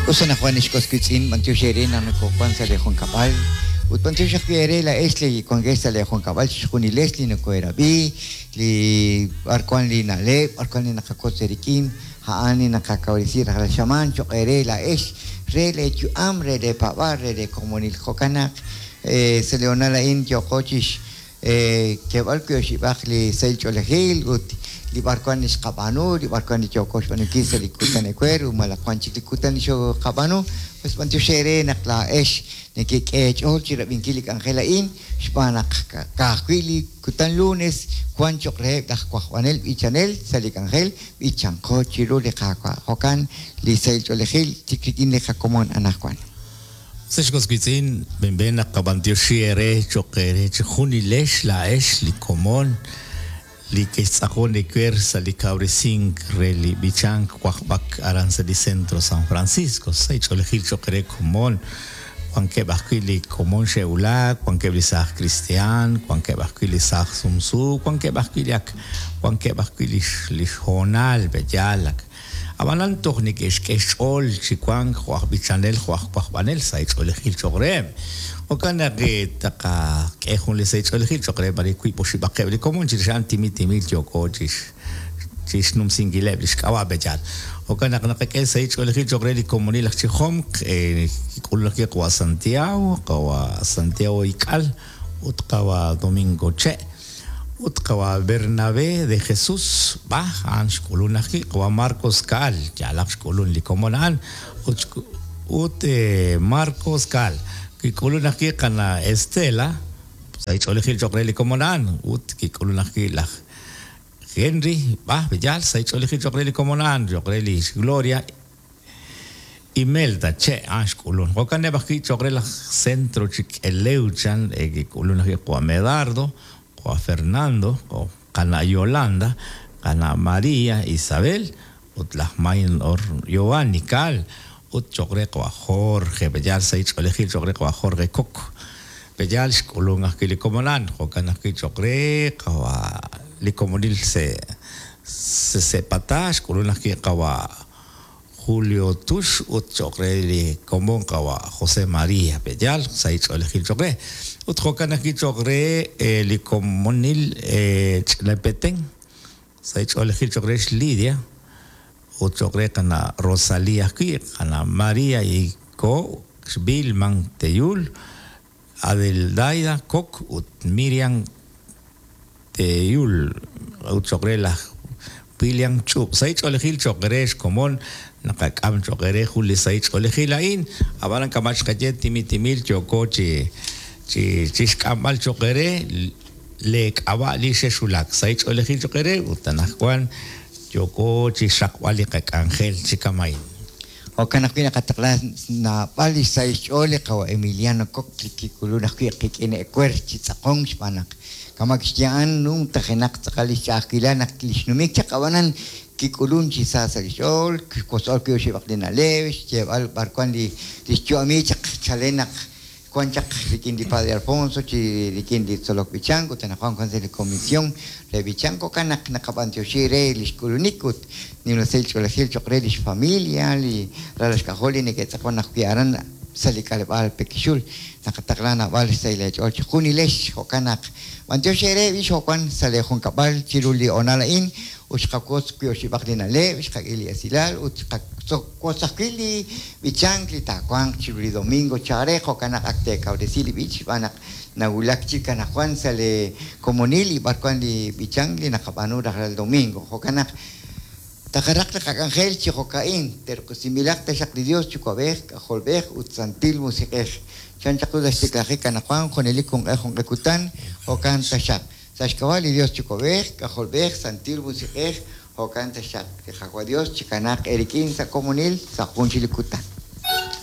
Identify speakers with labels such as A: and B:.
A: Us anaqwan ex was wiitz'in, b'antiox eere naq nokowan sa' lee junkab'al, ut b'antiox ajwi' eere laa'ex li wankex sa' lee junkab'al, chixjunilex li nokoheerab'i, li b'ar wan li na'leb', b'ar wan li naqawotz eerik'in, a'an li naqakawresi rajlal xamaan choq' eere laa'ex, re lee yu'am, re lee paab'aal, re lee komonil. Jo'kan naq sa' li hoonal a'in yooqo chixkeeb'al wi' oxib'aq li sahil ch'oolejil ut li b'arwan li xqab'aanu, li b'arwan li yooko xb'aanunkil sa' li kutan ewer ut malaj wan chik li kutan li xoqab'aanu. Pues b'antiox eere naq laa'ex nekek'e eech'ool chirab'inkil li k'anjel a'in xb'aan naq ka'ajwi' li kutan lunes wan choq' reheb' laj wajb'anel b'ichanel sa' li k'anjel b'ichanqo chiru li Qaawa'. Jo'kan li sahil ch'oolejil chik rik'in li qakomon anaqwan.
B: Ex was wiitz'in, b'enb'en naqab'antioxi eere cho'q eere chejunilex laa'ex li komon li kextz'aqon ewer sa' li kawresink re li b'ichank wajb'ak aran sa' li Centro San Francisco. Sa' ch'oolejil cho'q eere komon, wankeb' ajwi' li komon xe'wulak, wankeb' li saaj kristiaan, wankeb' ajwi' li saaj sumsu, wankeb' ajwi' li ak wankeb' ajwi' li li xhoonal pe'yaal ak ab'anan toj neke'xk'e xch'ool chi wank jo' aj b'ichanel jo' aj wajb'anel sa' ch'oolejil cho'q reheb'. Jo'kan naq taqak'e jun li sahil ch'oolejil cho'q reheb' arin wiib' oxib'aqeb' li komon chirix a'an timil timil yooko chi xnumsinkileb' li xk'ab'a' pe'yaal. Jo'kan naq naqak'e sahil ch'oolejil cho'q re li komonil aj Chijomq, kik'ulun ajwi' qawa' Santiago, qawa' Santiago Ik'al ut qawa' Domingo Che' ut qawa' Bernabé de Jesús B'aj a'an xk'ulun ajwi' qawa' Marcos Caal, yaalaq xk'ulun li komon a'an ut ut Marcos Caal kik'ulun ajwi' qana' Estela sahil ch'oolejil cho'q re li komon a'an ut kik'ulun ajwi' laj Henry B'aj B'eyal sahil ch'oolejil cho'q re li komon a'an cho'q re li xGloria Imelda Che' a'an xk'ulun. Jo'kaneb' ajwi' cho'q re laj Centro Chik'elew chan kik'ulun ajwi' qawa' Medardo, qawa' Fernando, qana' Yolanda, qana' María Isabel ut laj Maynor Giovanni Caal ut cho'q re qawa' Jorge B'eyal sahil ch'oolejil cho'q re qawa' Jorge Coc B'eyal xk'ulun ajwi' li komon a'an. Jo'kan ajwi' cho'q re qawa' li komonil se' Sepatá xk'ulun ajwi' qawa' Julio Tux ut cho'q re li komon qawa' José María B'eyal sahil ch'oolejil cho'q re. Ut jo'kan ajwi' cho'q re li komonil Ch'ina Petén sahil ch'oolejil cho'q re xLidia ut cho'q re qana' Rosalía ajwi', qana' María Iko, xVilman Teyul, Adeldaida Kok ut Miriam Teyul ut cho'q re laj William Ch'ub'. Sahil ch'oolejil cho'q re xkomon naqak'am cho'q eere jun li sahil ch'oolejil a'in, ab'anan kama' xqaye timil timil yooko chi chi xk'amb'al cho'q eere leek'ab'a' li xexwulak. Sahil ch'oolejil cho'q eere ut anaqwan yooko chi xraqb'al li qak'anjel chi kama'in.
A: Jo'kan ajwi' naqataqla naab'al li xsahil xch'ool li qawa' Emiliano Coc li kik'ulun ajwi' qik'in ewer chi tz'aqonk xb'aan naq kama' kixye a'an numtajenaq tz'aqal li xch'a'ajkilal naq li xnumik chaq ab'anan kik'ulun chi sa sa' li xch'ool, kixwotz'ol wiib' oxib'aq li na'leb', xyeeb'al b'ar wan li xyu'ami chaq chalen naq wan chaq rik'in li Padre Alfonso chi rik'in li tzolok b'ichank ut anaqwan wan sa' li Comisión re B'ichank. Jo'kan naq naqab'antioxi re li xk'ulunik ut nimla sahil ch'oolejil cho'q re li xfamilia, li ralal xk'ajol li neke'tz'aqon ajwi' aran sa' li k'aleb'aal Pekixul. Naqataqla naab'al xsahil eech'ool chejunilex. Jo'kan naq b'antiox eere b'ix jo' wan sa' lee junkab'al chiru li hoonal a'in ut xqawotz wiib' oxib'aq li na'leb', xqak'e li esilal ut xqawotz ajwi' li b'ichank li taawanq chiru li domingo chaalel. Jo'kan naq ak teekawresi li b'ich xb'aan naq nawulak chik anaqwan sa' lee komonil li b'arwan li b'ichank li naqab'aanu rajlal domingo. Jo'kan naq taqaraq li qak'anjel chi jo'ka'in, terq'usinb'ilaq taxaq li Dios Yuwa'b'ej, K'ajolb'ej ut Santil Musiq'ej. Chan chaq ru sa' xtiklajik anaqwan junelik junq'e junq'e kutan, jo'kan taxaq. Sa' xk'ab'a' li Dios Yuwa'b'ej, K'ajolb'ej, Santil Musiq'ej, jo'kan taxaq. Li Qaawa' Dios chikanaaq eerik'in sa' komonil sa' jun chik li kutan.